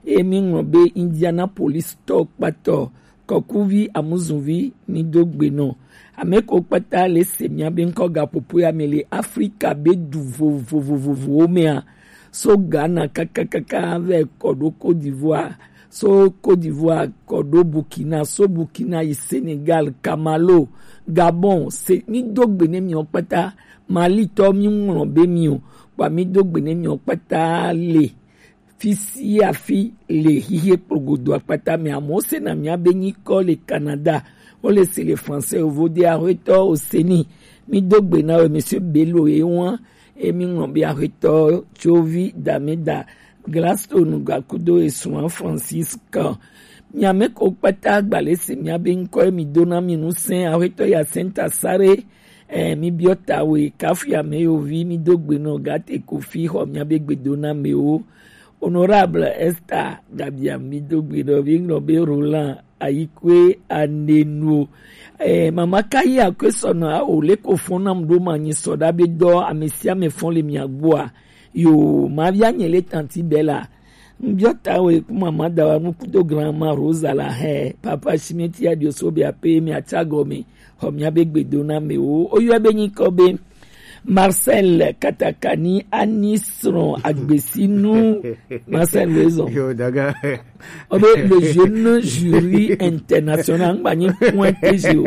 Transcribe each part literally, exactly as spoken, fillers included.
Emi ŋlɔ be Indianapolis tɔ kpatɔ, kɔkuvi amuzuvi mi do gbe nɔ. Ame ko kpata le se mia be ŋkɔ ga popo ya me le Afrika be du vovovovovowo mea. So Ghana kakakaka vɛ kɔ ɖo Côte d'Ivoire, so Côte d'Ivoire kɔ ɖo Burkina, so Burkina yi Sénégal, Kamalo, Gabon, se mi do gbe ne miɔ kpata, Mali tɔ mi ŋlɔ be mi o, kpa mi do gbe ne miɔ kpata le fi sia fi le xixi kplogodo akpata me. Amewo sena mia be nyikɔ le Canada, wole se le français, yovo de, ahuetɔ Oseni. Mi do gbe na we, Monsieur Bello ye wa, e mi ŋlɔ be ahuetɔ Tsovi Dameda, Gladstone Gakudo e sua Francisca. Mia me ko kpata gba le se mia be ŋkɔ e mi do na mi nu sɛn, ahuetɔ ya Senta Sare, eh, mi biɔ ta we, kafu ya me yo vi, mi do gbe nɔ Gate Kofi xɔ mia be gbe do na me o. Honorable Esther Gabia, mi do gbe nɔ vi ŋlɔ be Roland Ayikwe Anenu. Eh, mama Kayi Akwe sɔnɔ a o le ko fɔn nam do ma nyi sɔ da be dɔ, ame sia ame fɔn le mia gbɔa. Yo, ma via nye le tanti Bella. Mbiɔ ta we ku mama da wa nu kudo grandma Rosa la he. Papa Simeti ya dio so be ape mi acha gɔme. Xɔ mia be gbe do na me o. O yɔ be nyikɔ be Marcel Katakani Anisron Agbesinu. Marcel Wezon. Yo, daga. O be le jeune jury international, ngba nyi point T G o.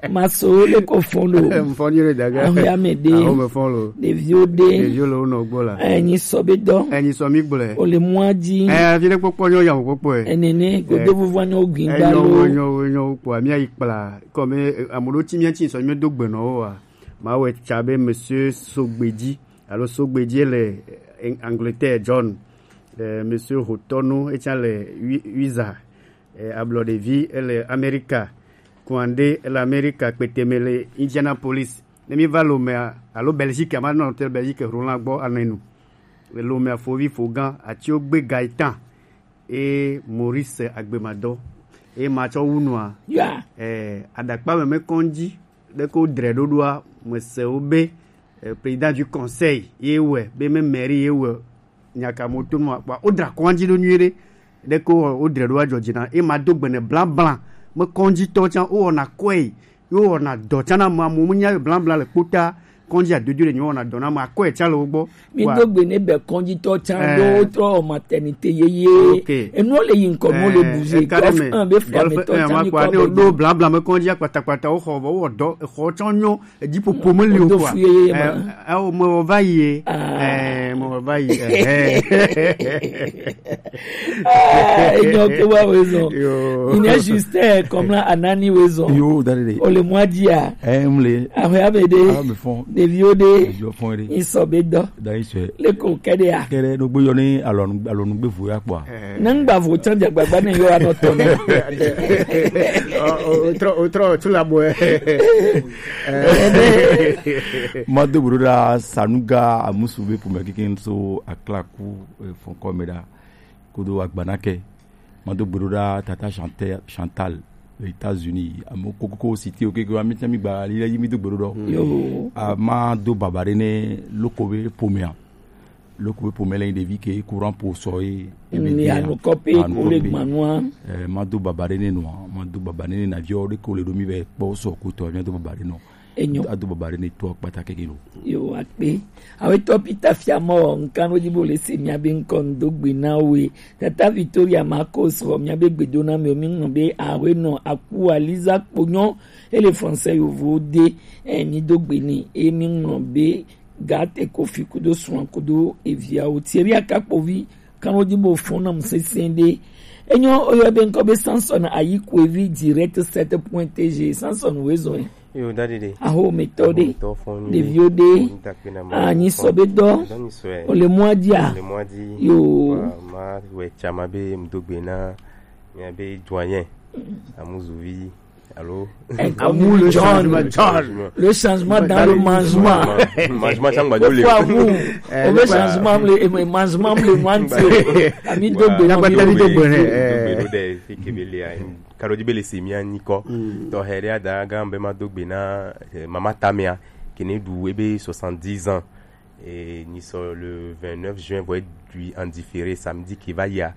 Maso le ko fɔn lo. Mfɔn yo le daga. Ahu ya me de. Ahu me fɔn lo. Ɖeviwo de. Ɖeviwo le wo nɔ gbɔ la. Enyi sɔ be dɔ. Enyi sɔ mi gblɔe. O le mɔa dzi. Eh, afi ɖe kpɔkpɔ nyɔ ya kpɔkpɔ e. Enene, godo vuvu anyo gbin. Eh, ba nyo, lo. Nyo, nyo, kpɔ, mi ayi kpla. Comme, eh, ameɖewo ti mía ti sɔ mi do gbe nɔ wo wa. Ma wɛ tsa be Monsieur Sogbeji. Alo Sogbeji le, eh, Angleterre, John. Eh, Monsieur Hotɔnu, etsa le Ui-, Uiza. Eh, ablɔ ɖevi, ele Amerika. Kuande, ele Amerika, kpeteme le Indianapolis. Ne mi va Lomea, alo Belgique, ama nɔ te Belgique, Roland gbɔ anenu. Le Lomea, fovi fogan, atio gbe Gaetan. E Maurice Agbemadɔ. E ma tsɔ wu nua. Ya. Eh, adakpa me me kɔndzi. Ɖe ko dre ɖoɖoa, me se wo be, eh, président du conseil, ye wɛ, be me mairie ye wɛ, nyaka mo to nua, kpɔa, wo dra kɔndzi ɖo nyuie ɖe. Ɖe ko wo dre ɖo adzɔ dzi na. E ma do gbene blablabla. Me kɔndzi tɔ tsã, wo wɔna kɔe. Yo wɔna dɔ tsã na ma mo, mo nya blablabla le kpota. Kɔndzi adodo le nyo wɔna dɔ na ma kɔe tsã le wo gbɔ. Mi do gbe ne be kɔndzi tɔ tsã, eh, do trɔ maternité yeye. Ok. Enu le yi nkɔ mo le, eh, bouger. Eh, carrément. Golf un be fia me tɔ tsã mi kɔ ne do blablabla me kɔndzi kpatakpata wo xɔ, wo dɔ, xɔ tsã nyo. Edzi ƒoƒo meli o. Wodo kɔa? Fu yeye ma. Eh, eh, o, me va yi ye. Ah. Eh, me va yi. Eh, eh. Ah, enyo ke wa wezon. Yo. Il est juste, eh, comme là, Anani wezon. Yo, dare de. O le mwa dia. Eh, mle. Awe abe de. Ah, me fond. Deviwo de. Yo fond de. Iso be do. Da iso. Le ko kede ya. Kede no gbe yo ni alonu, alonu gbe fu ya kpɔa. Eh. Ne ŋgba vo tsã dze agbagba ne yɔ anɔ tɔ ne. O, o, o trɔ, o trɔ, tu la bɔɛ. Mado bro ɖa Sanuga Amusu be ƒome keke so Aklaku, eh, fɔnkɔ me ɖa. Kodo agbanake. Mado bro ɖa Tata Chantel, Chantal, États-Unis. Amo kokoko siti o keke wa mi tsa mi gba li yi mi do bro ɖo. Yo. A ma do baba ɖe ne loko be ƒomea. Loko be ƒome le ɖevi ke courant po sɔ ye. Mm, ebe ya dia, anukɔ pe anu ko le kɔ pe. Gbanua. Eh, ma do baba ɖe ne nua, ma do baba ɖe ne na viɔ ɖe ko le ɖo mi vɛ kpɔ sɔ ko tɔ, mi do baba ɖe nɔ. Enyo. A do baba ɖe ne tɔ kpata keke lo. Yo, akpe. Awe tɔ Peter Fiamɔ, nkan wo di bo le se mi abe nkɔ ndo gbe na we. Tata Victoria Marcos, xɔ mi abe gbedo na mi o, mi ŋlɔ be awe nɔ aku Aliza kponyo, ele français yovo de, eh, mi do gbe ni, e mi ŋlɔ be Gate Kofi kudo srɔ̃a kudo eviawo. Thierry Akakpovi, kan wo di bo fɔn nam sesẽ ɖe. Enyo, oyɔ be ŋkɔ be Samson Ayikwevi direct sept point T G. Samson wezɔn. Yo, dadi de. Aho metɔ de. Aho metɔ fɔn ni. Ɖeviwo de. Anyi sɔ be dɔ. Dɔ ni sɔ. O le mɔa dia. O le mɔa di. Yo. Wa, ma wɛ tsama be mdogbe na. Mia be doyen. Amuzuvi. Allô? Amour, le changement, John. Le changement dans le management. Management, ça, on va dire. Pourquoi vous? Eh, on veut changement, le, eh, management, le management. Ami do gbe, ami do gbe, eh. Karo di bele se mi ani ko. To here ada ga be ma do gbe na, eh, mama Tamia, qui ne du ebe soixante-dix ans. Et nous sommes le vingt-neuf juin, vous êtes du en différé samedi qui va y a.